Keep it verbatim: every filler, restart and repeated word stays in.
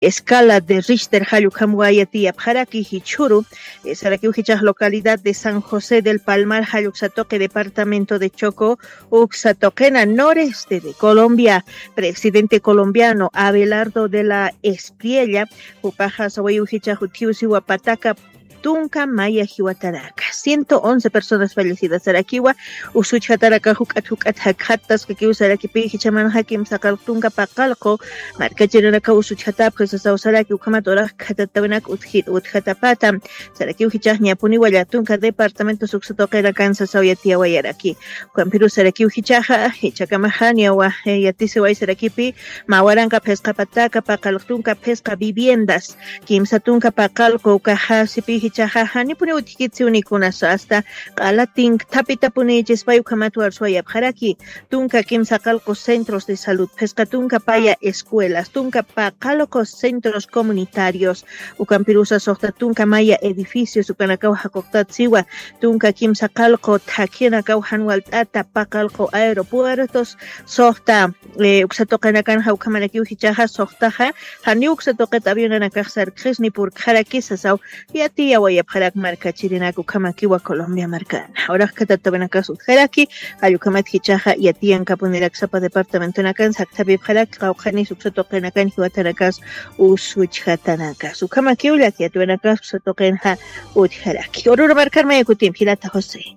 Escala de Richter jallukhamwa yatiyapxaraki jichhuru, eh, sarakiw jichax localidad de San José del Palmar jalluksa toqe departamento de Choco, uksa toqena noreste de Colombia. Presidente colombiano Abelardo de la Espriella, jupaxa sawayiw jichax utjiw siwa pataka tunka maya jiwataraka, ciento once personas fallecidas sarakiwa. Usuchjataraka juk'at juk'at jakxattaskakiw sarakipi jichamanxa kimsaqalq tunka paqalqu markachirinaka usuchjatapxi sasaw saraki ukhamat urax khatatawinak utjit utjatapata. Sarakiw jichax ñapuniwa llatunka departamentos uksa tuqinakan sasaw yatiyawayaraki. Ukampirus sarakiw jichaxa jichakamaxa niyawa, eh, yatisiway sarakipi mawaranqa phisqa pataka paqalq tunka phisqa viviendas, kimsa tunka paqalqu ukaxa sipi jichaxa janipuni utjkit siwnikunasa asta q'alatin thapitapuni chispay ukhamat warsuwayapxaraki. Tunka kimsa qalqu centros de salud, phisqa tunka paya escuelas, tunka paqalqu centros comunitarios, ukampirusa suxta tunka maya edificios ukanakaw jaquqtat siwa, tunka kimsa qalqu thakhinakaw jan walt'ata paqalqu aeropuertos, suxta, eh, uksa tuqinakan jawkhamanakiw jichaxa suxtaxa janiw uksa tuqit avionanakax sarkxisni purkxaraki sasaw yatiyawayapxarak markachirinak ukhamakiwa Colombia markana. Urax khatatawinakas utjaraki, jallukhamat jichaxa yatiyankapunirak sapa departamentonakan saktapipxarak qawqhanis uksa tuqinakan jiwatanakas usuchjatanakas. Ukhamakiw llakiyatwinakas uksa tuqinxa utjaraki. Ururu markar mayakutim jilata José.